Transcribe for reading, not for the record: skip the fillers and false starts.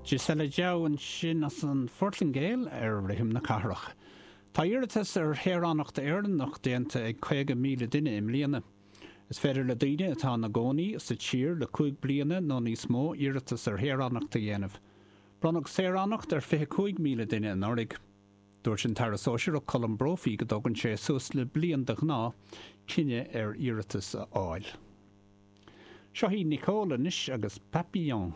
Gisela Jao ansin as an Phortaingéil ar Rithim na Cathrach. Tá iarratas ar shaoránacht Éireannach déanta ag 50,000 duine i mbliana. Is féidir le daoine atá ina gcónaí sa tír le 5 bliana nó níos mó iarratas ar shaoránacht a dhéanamh. Bronnadh saoránacht ar 25,000 duine anuraidh. Dúirt an tAire Sóisearach Colm Brophy go dtógann sé suas le bliain de ghnáth cinneadh ar iarratas a fháil. Seo í Nicole anois agus Papillon.